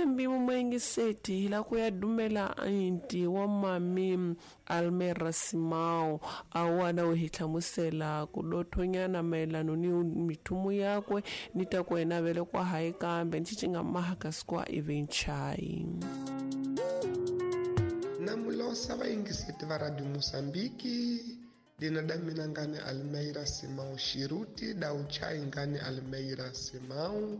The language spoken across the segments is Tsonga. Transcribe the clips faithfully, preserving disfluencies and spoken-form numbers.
Tshembi mumwengiseti hi la ku ya dumela anti wa mami Almera Simao awana we hi hlamusela ku dothonyana mayelano ni mithumu yakwe ni ta ku yena vele kwa hayi kambe ni cinga mahaka sikwa ivenchai. Namulosa vayingiseti va Radio Mozambique dina da mina ngani Almeida Simão Shiruti da uchai ngani Almeida Simão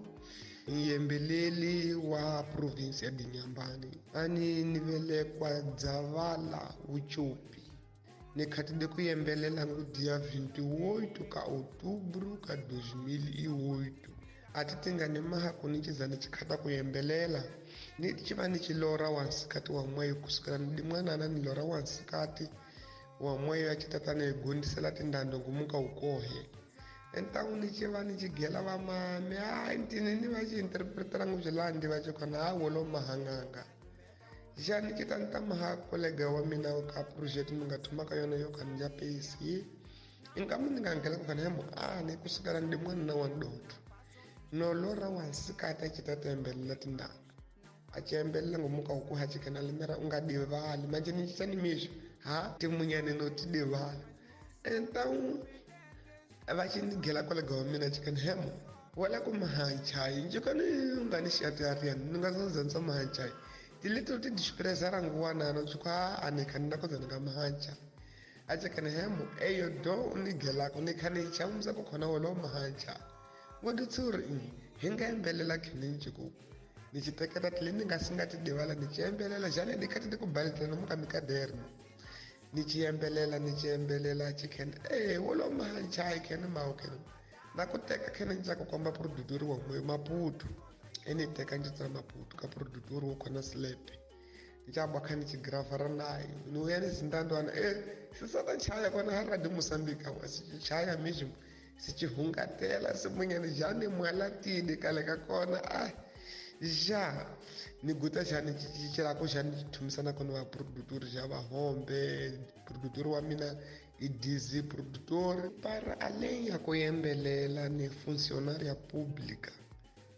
yembeleli wa province ya Inhambane ani nivelekwa Dzavala Uchupi nikhatide kuyembelela ngu dia vinte e oito ka outubro ka dois mil e oito ati tingani maha kunichizani chikhata kuyembelela ni chiva ni chilora wansikati wa mweyo kusukela ndi mwanana ni lora wansikati wa mweyo achitatana egundisela tindando ngumuka ukohe então ni chiva ni chigela va mame a ntini ni va chiinterpretela nguzvilandi va chikona a wolo mahanganga já ni chitanta maha kolega wa mina ka project ni nga thoma ka yona yo ka ni ya P C inkamu ni nga ngela ku kana hemo a ni kusukela ndi mwana wa ndoto no lora wansikati a chitatembela tindando a chembelela ngumuka ukuha chikana limera unga divali manje ni chitani misho ha timunyane no tidivali então vachindigela kolega wa mina chikana hemo wala ku mahanchai njikani ungani xiatiarian ni nga zanzanza mahanchai tileto ti desprezar nguwanana tsukwa ane khani na koza nga mahancha a chikana hemo eyo do unigelako ni khani chaumza ku khona wolo mahancha ngodutsuri hi nga embelela khini ku ni chiteketa tile ni nga singa tidivala ni chiembelela jane ni khati ku balitela muka mikaderno ni chiembelela ni chiembelela chikhene eh wolo mahancha khene mawo khene na ku teka khene nja ku komba produtor wa mwe Maputo eni teka nje tsa Maputo ka produtor wo khona slap nja ba khani chigrafara nayo ni uyani zindandwana eh sisata chaya kona ha Radio Mozambique wa si chaya mesmo si chihungatela simunyane jane mwalatini kale ka kona ah já ni guta já ni chichirako já ni thumisana kona va produtor já va hombe produtor wa mina i D Z produtor para além ya ku yembelela ni funcionária pública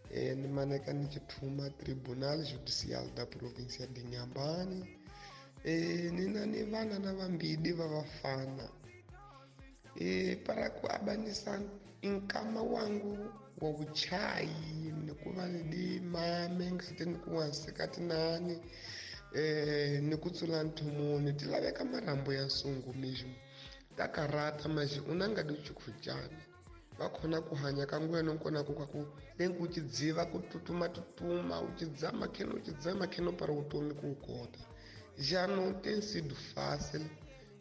e ni maneka ni chithuma Tribunal Judicial da Província de Inhambane e ni na ni vana na vambili va vafana e para ku abanisa nkama wangu wa vuchayi ni ku va ni di mame ngati ni ku wansikati nani eh ni ku tsula nthumuni ti laveka marhambu ya nsungu mesmo ta karata maji una nga di chukhuchana va khona ku hanya ka ngweno nkona ku ka ku lenku chidziva ku tutuma tutuma u chidzama kheno u chidzama kheno para utomi ku kota já não tem sido fácil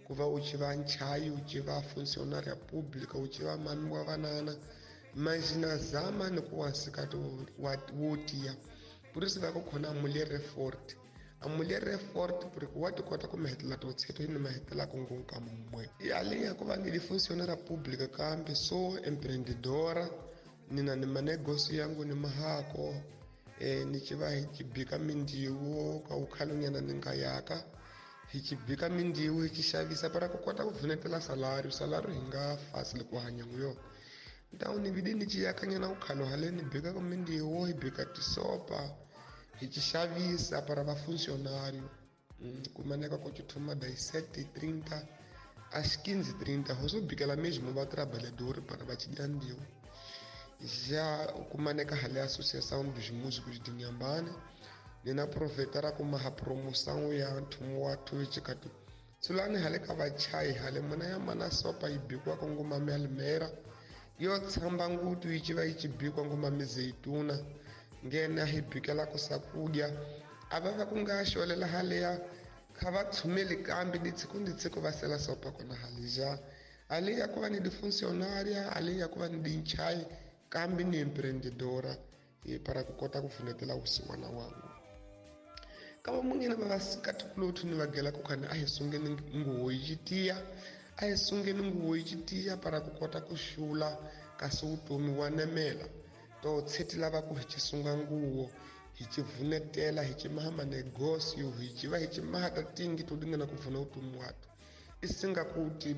ku va u chiva nchayi u chiva funcionária pública u chiva mami wa vanana mas na zama ni ku wansikati wo tiya por isso va ku khona mulher forte a mulher forte porque wa ti kota ku mahetela to tsheto ni mahetela ku ngunka mumwe além ya ku va ni funcionária pública kambe sou empreendedora ni na ni manegócio yangu ni mahako eh ni chiva hi chibika mindiwo ka ukhalonyana ni nga yaka hi chibika mindiwo hi xavisa para ku kota ku vunetela salário salário hi nga fácil ku hanya nguyo então ni vidi ni chiyakanyana ukhalo hale ni bika ku mindiwo hi bika tisopa hi xavisa para va funcionário kumaneka ku chithuma das sete e trinta às quinze e trinta hoso bikela mesmo va trabalhador para va chidandiwo já kumaneka hale Associação dos Músicos de Inhambane ni na aproveitar ku maha promoção ya nthumu wa thuchikatu tsulani hale ka vachayi hale muna ya mana sopa yi bikiwa ku nguma Almeida yo tshamba ngutu yi chiva yi chibikwa nguma mizeituna ngena hi bikela ku sakudya a va va ku nga xolela haleya kha va tshumeli kambe ditsiko nditsiko va sela sopa kona hale ja além ya ku va ni di-funcionária além ya ku va ni dinchayi kambe ni empreendedora e para ku kota ku pfunetela vusiwana wangu ka va munghena va vasikati kulothu ni va gela ku khani a hi sungeni nguwo yi tiya a hi sungeni nguwo yi tiya para ku kota ku xula kasi vutomi wa nemela to tsheti lava ku hi chisunga nguwo hi chivunetela hi chimaha manegócio hi chiva hi chimaha ta tingi to dingana ku pfuna vutomi watu isinga kuti